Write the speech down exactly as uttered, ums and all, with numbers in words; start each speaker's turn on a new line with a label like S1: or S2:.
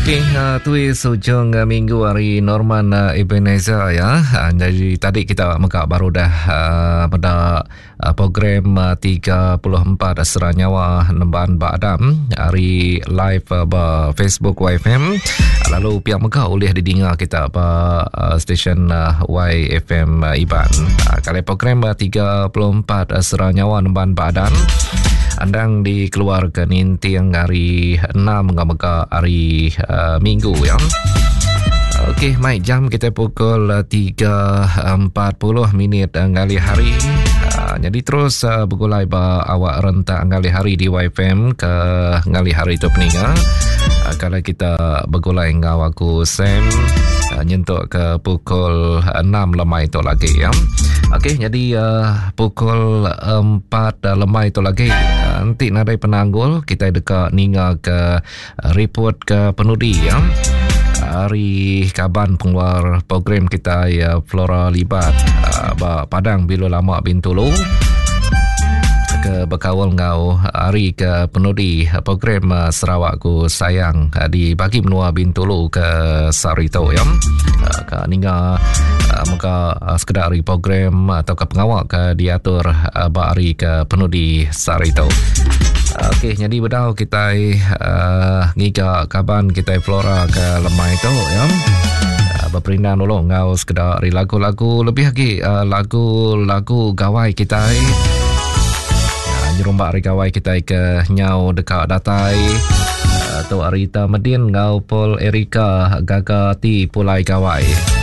S1: Okey, uh, tuis ujung uh, minggu hari Norman uh, Ebenezer ya. Uh, jadi tadi kita mega baru dah uh, pada uh, program uh, tiga puluh empat Sera Nyawa Nemban Ba Adam hari live uh, ba Facebook Y F M. Lalu pihak mega boleh didengar kita ba uh, stesen uh, Y F M uh, Iban. Uh, kalau program uh, tiga puluh empat uh, Sera Nyawa Nemban Ba Adam andang dikeluarkan ninting hari enam mega hari uh, Minggu ya. Okey, mai jam kita pukul tiga empat puluh minit ngalih hari. Uh, jadi terus uh, bergulai ba awak rentak ngalih hari di Y F M ke ngalih hari tu peninga. Uh, kalau kita bergulai ngau aku Sam uh, nyentuk ke pukul enam lemai tu lagi ya. Okey, jadi uh, pukul empat lemai tu lagi uh, nanti nadai penanggul kita dekat ninga ke uh, report ke penudi ya. Hari kaban pengeluar program kita ya Flora Libat uh, ba Padang Bilo Lama Bintulu ke berkawal ngau hari ke penudi program uh, Sarawakku Sayang uh, di bagi menua Bintulu ke Sarito ya. Uh, ke ninga uh, maka uh, sekedar hari program atau ke pengawak ke diatur uh, ba hari ke penudi Sarito. Okey, jadi bedau kita uh, ngiga kaban kita Flora ke lemai tu ya. Uh, berperindang dulu ngau sekedar hari lagu-lagu lebih lagi uh, lagu-lagu gawai kita. Uh, nyerumbak hari gawai kita ke nyau dekat datai. Uh, tu Arita Medin ngau Paul Erika Gagati Pulai Gawai.